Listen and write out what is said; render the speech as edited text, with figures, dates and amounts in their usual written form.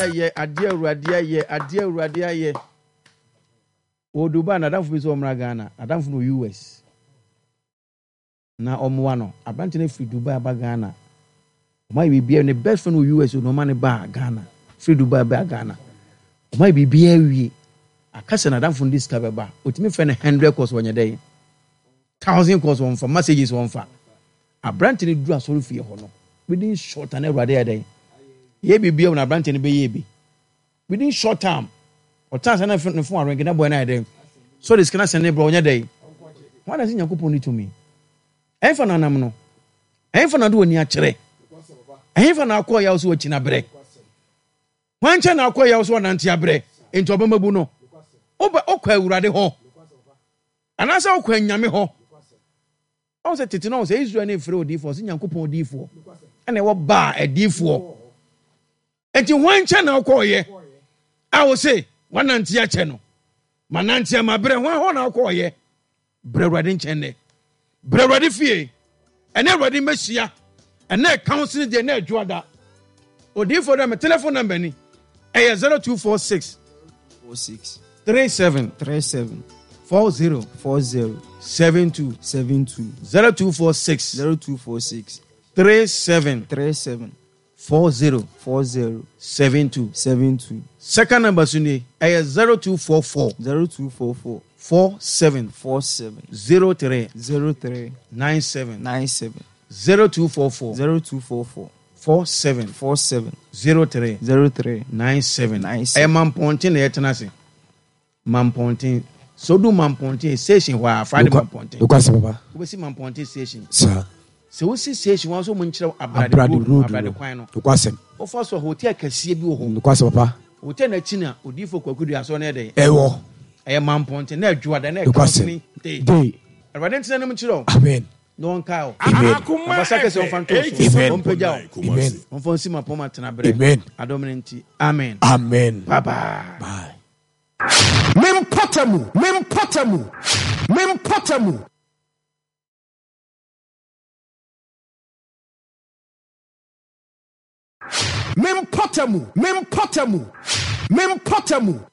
Ayɛ adeɛ Awurade ayɛ adeɛ Awurade ayɛ. Wɔ Dubai n'adamfo bi sɛ ɔmmra Ghana n'adamfo no wɔ US na ɔmmoa no aberante no firi Dubai aba Ghana ɔma yɛ biribiara ne best friend wɔ US na ɔma ne baa Ghana firi Dubai baa Ghana ɔma yɛ biribiara wie aka sɛ n'adamfo no de sika bɛba ɔtumi fɛ no hundred calls wɔnyɛ dɛn thousand calls wɔmfa messages wɔmfa Aberante no duru asɔrefie hɔ no, within short time na Awurade ayɛ dɛn? Yɛ biribi a na aberante no bɛyɛ bi. Within short time, ɔtan sɛ na ne fon arenke na bɔyɛ no ayɛ dɛn? So de sika no asɛn ne brɛ ɔnyɛ dɛn? Wɔn na sɛ Nyankopɔn ne tumi. Ɛmfa na anam no. Ɛmfa na de w'ani akyerɛ. Ɛmfa na akɔ yaw so wakyi na brɛ. Hwan nkyɛn na akɔ yaw so ɔnante abrɛ? Enti ɔbɛma bu no. Wobɛ wokɔ Awurade hɔ. Anaasɛ wokɔ anyame hɔ. Ɔhu sɛ tete no ɔhu sɛ Israel no mfrɛ odiyifoɔ, ɔsɛ Nyankopɔn odiyifoɔ. Ɛna ɛwɔ baa adiyifoɔ. Enti hwan nkyɛn na wokɔɔyɛ a wo se wanante akyɛ no? Manante ama berɛ, hwan hɔ na wokɔɔyɛ? Brɛ Awurade nkyɛn nnɛ. Brɛ Awurade fie. Ɛne Awurade mmɛhyia. Ɛnɛ counseling deɛ ɛnɛ adwoada. Odiyifoɔ dɛ me telephone number ni. Ɛyɛ 0246 46 37 37 40 40 72 72 0246 0246 37 37 40 40 72. 72 Second number so nie, ɛyɛ 0244 0244 47 47 03 03 97 97 0244 0244 47 47 03 03 97. 97. Ɛyɛ Mampɔnten na yɛtena ase. Mampɔnten. Sɛ wodu Mampɔnten station hɔ a, Friday Mampɔnten. Nokwasɛm papa. Wobɛsi Mampɔnten station. Saa. Sɛ wosi station hɔ nso wɔn nkyerɛ Abrade Abrade road no, road Abrade no. kwan no. Nokwasɛm. Wofa so a hotel kɛseɛ bi wɔ hɔ. Nokwasɛm papa. Hotel no akyi na Odiyifoɔ Kwaku Duah asɔre no yɛ dɛn? Ɛwɔ. Ɛyɛ Mampɔnten na Adwoada na Nokwasɛm. Counseling Day. Day. Awurade ntena anim nkyerɛ wo. Amen. Na ɔnkae wo. Amen. Na basa kɛseɛ ɔmfa nto wo so. Amen. Ɔmpagya wo. Amen. Ɔmfa nsi mapɔma tena berɛ. Amen. Adom no nti. Amen. Amen. Bye bye. Bye. Me mpɔtamu, me mpɔtamu, me mpɔtamu. Me mpɔtamu, me mpɔtamu, me mpɔtamu.